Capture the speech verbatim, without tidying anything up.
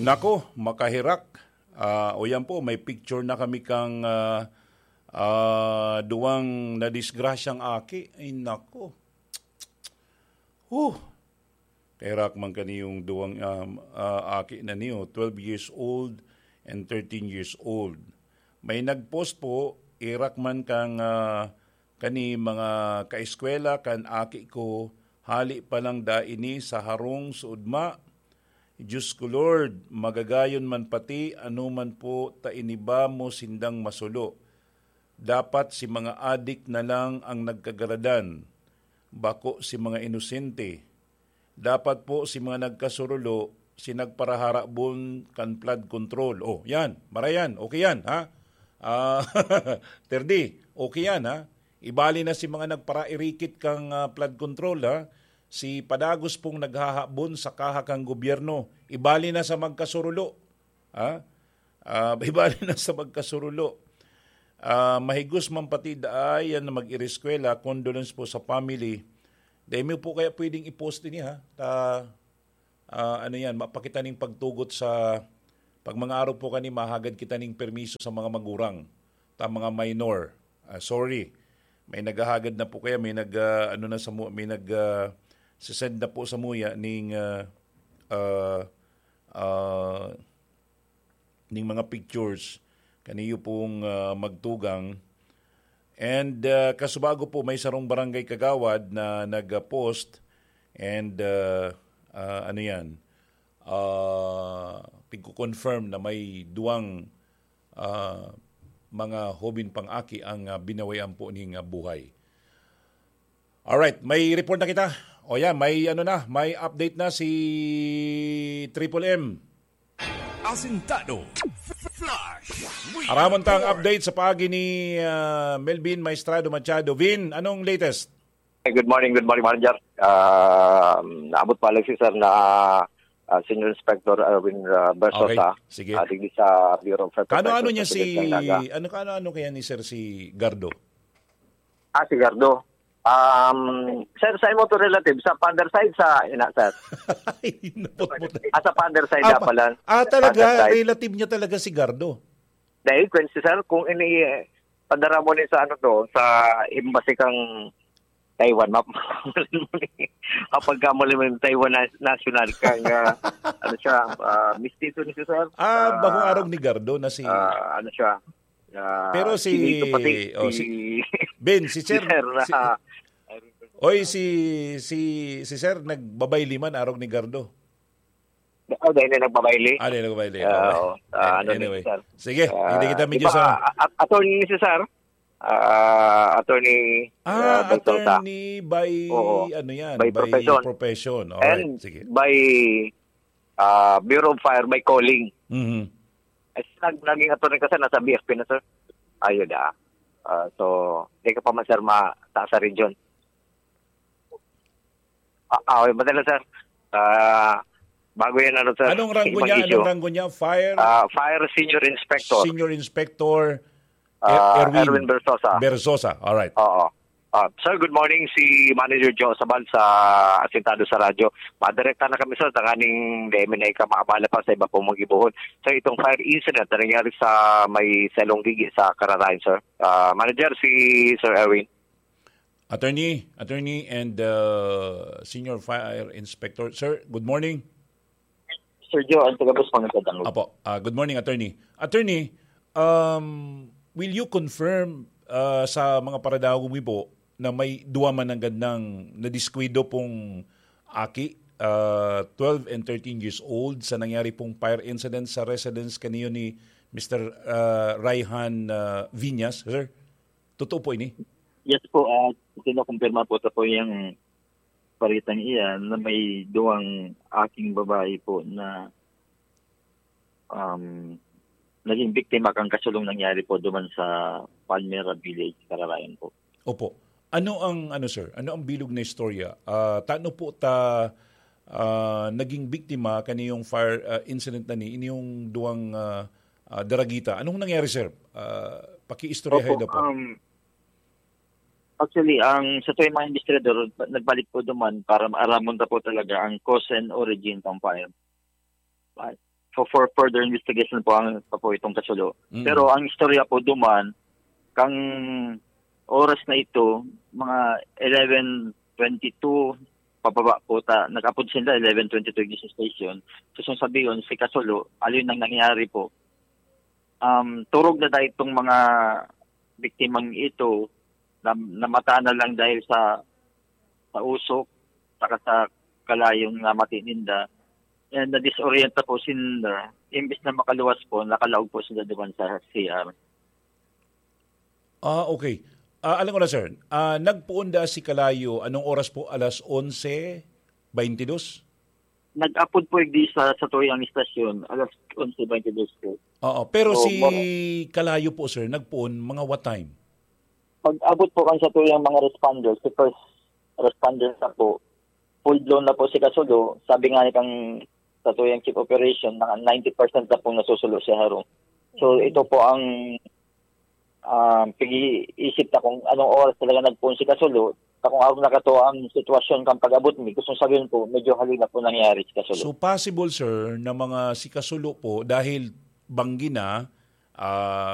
Nako, makahirak. Ah, o yan po, may picture na kami kang, ah, ah, duwang nadisgrasyang aki. Ay, nako. Huh! Kahirak man kani yung duwang, um, ah, aki na niyo, twelve years old and thirteen years old. May nag-post po, "Irak man kang, ah, kani mga kaeskwela kan aki ko, hali pa lang da ini sa harong suodma." Diyos ko, Lord, magagayon man pati ano man po ta iniba mo sindang masulo. Dapat si mga adik na lang ang nagkagaradan, bako si mga inosente. Dapat po si mga nagkasurulo, si nagparaharabon kan flood control. Oh, yan. Marayan. Okay yan, ha? Ah, Terdi, okay yan, ha? Ibali na si mga nagparairikit kang, ah, flood control, ha? Si Padagos pong naghahabon sa kaha kang gobyerno. Ibali na sa magkasurulo. Ha? Ah, ibali na sa magkasurulo. Ah, mahigos man pati daay yan na mag-ireskwela. Condolence po sa family. Dahil mo po kaya pwedeng i-post din, ha? Ta, ah, ano yan, mapakita ning pagtugot sa, pag mga araw po kani, mahagad kita ning permiso sa mga magurang, ta mga minor. Ah, sorry. May naghahagad na po kaya, may nag, ah, ano na sa mu-, may nag, ah, sisend na po sa muya ning, ah, ah, ah, ning mga pictures kaniyo pong, ah, magtugang. And, ah, kasubago po, may sarong barangay kagawad na nag-post and, ah, ah, ano yan, ah, tigko-confirm na may duwang, ah, mga hobin pang aki ang, ah, binawian po ning, ah, buhay. Alright, may report na kita. O yan, may ano na, may update na si Triple M. Asintado. Flash. Aramon ta ang update sa paagi ni, ah, Melvin Maestrado Machado. Vin, anong latest? Good morning, good morning, Manager. Ah, naabot pa lang si sir na ah, Senior Inspector Erwin ah, Bersosa. Okay, sige. Ah, digdi sa Bureau of Fire Kano-ano Protection niya sa si... Cagayan, Naga. Ano, kano-ano kaya ni Sir si Gardo? Ah, si Gardo. Um, sir, sa imo to relative, sa father side, sa ina, sir? Ay, naputput. Ah, sa father side Ah, ah, pala. Ah, talaga, Father side. Relative niya talaga si Gardo. Dahil, kwen si sir, kung ini, eh, padara mo ni sa ano to, sa embassy kang Taiwan, map-, kapag ka mo yung Taiwan na, national kang, ah, ano siya, ah, mistiso ni si sir. Ah, Ah, bakong arog ni Gardo na si... ah, ano siya, ah, Pero si... chinito pati Oh, si, si Ben, si Sir... Sir, si- ah, Oy, si, si, si Sir nagbabayli man, arog ni Gardo. Oh, dahil na nagbabayli. Ah, di nagbabayli. Ah, Okay. oo. Ah, ano Anyway. ni sir? Sige, Ah, hindi kita di medyo ba, sa... ah, ah, attorney ni si sir? Ah, attorney Ah, ah, Bersosa. Attorney by... Oo. Ano yan? By profession. Profession. Alright, And sige. by ah, Bureau of Fire, by calling. Mhm. Eh, nag, naging attorney ka, sir, nasa B F P na, sir. Ayun ah. Ah, so, di ka pa man, sir, mataas sa region. Ah, ah, okay, madala, sir. Ah, bago yan, ano, sir. Anong rango ibang niya? issue. Anong rango niya? Fire... Ah, Fire Senior Inspector. Senior Inspector Ah, Er- Erwin Erwin Bersosa. Bersosa. Alright. Oo. Ah, sir, good morning. Si Manager Joe Sabal sa Asintado sa Radyo. Madirekta na kami, sir, tanganing dahil may naika maabala pa sa iba pong magibuhon. Sir, itong fire incident na nangyari sa may Salonggigi sa Kararayan, sir. Ah, Manager, si Sir Erwin. Attorney, attorney and uh, Senior Fire Inspector. Sir, good morning. Sir Joe, ang tagabos, magandang Apo, ah, good morning, attorney. Attorney, um, will you confirm ah, sa mga paradagog mi po na may duwa man ang gandang nadiskwidro pong aki, ah, twelve and thirteen years old, sa nangyari pong fire incident sa residence kaniyo ni Mister ah, Raihan ah, Viñas, sir? Totoo po ini? Yes po, at kinokompirma po sa po yung paritang iyan na may duwang aking babae po na um, naging biktima kang kasulong nangyari po duman sa Palmera Village, Kararayan po. Opo. Ano ang, ano, sir? Ano ang bilog na istorya? Ah, tano po ta ah, naging biktima kaniyong fire ah, incident na ni inyong duwang ah, ah, daragita? Anong nangyari, sir? Ah, pakiistoryahay Opo, daw po. Um, actually, ang sa tuwing mga investigador, nagbalik po duman para maaramon ta po talaga ang cause and origin ng fire. Fire. for, for further investigation po ang pa po itong kasulo. Mm. Pero ang istorya po duman, kang oras na ito, mga eleven twenty-two, pababa po ta, nag-apod sila eleven twenty-two ignition station. So, kung sabihin, si Kasulo, alin ang nangyari po? Um, turog na dahil itong mga biktimang ito, na, namata na lang dahil sa, sa usok, saka sa kalayong namati ninda. And na-disorienta po sila. Imbis na makaluwas po, nakalaog po sila duman sa C R. Ah, okay. Ah, alam ko na, sir. Ah, nagpoon da si Kalayo, anong oras po? Alas onse baynte dos? Nag-apod po igdi sa, sa Tuyang Istasyon, alas onse baynte dos po. Oo, pero So, si moro- Kalayo po, sir, nagpoon mga what time? Pag-abot po kan sa Tuyang mga responders, si first responder na po, full blown na po si Kasulo. Sabi nga ni kang sa Tuyang Chief Operation, naka ninety percent na pong nasusulo si Harong. So, ito po ang, ah, pag-iisip na kung anong oras talaga nagpoon si Kasulo. Sa kung arog na kato ang sitwasyon kang pag-abot mi, gustong sabihin po, medyo hali na po nangyari si Kasulo. So, possible, sir, na mga si Kasulo po, dahil banggi na, ah,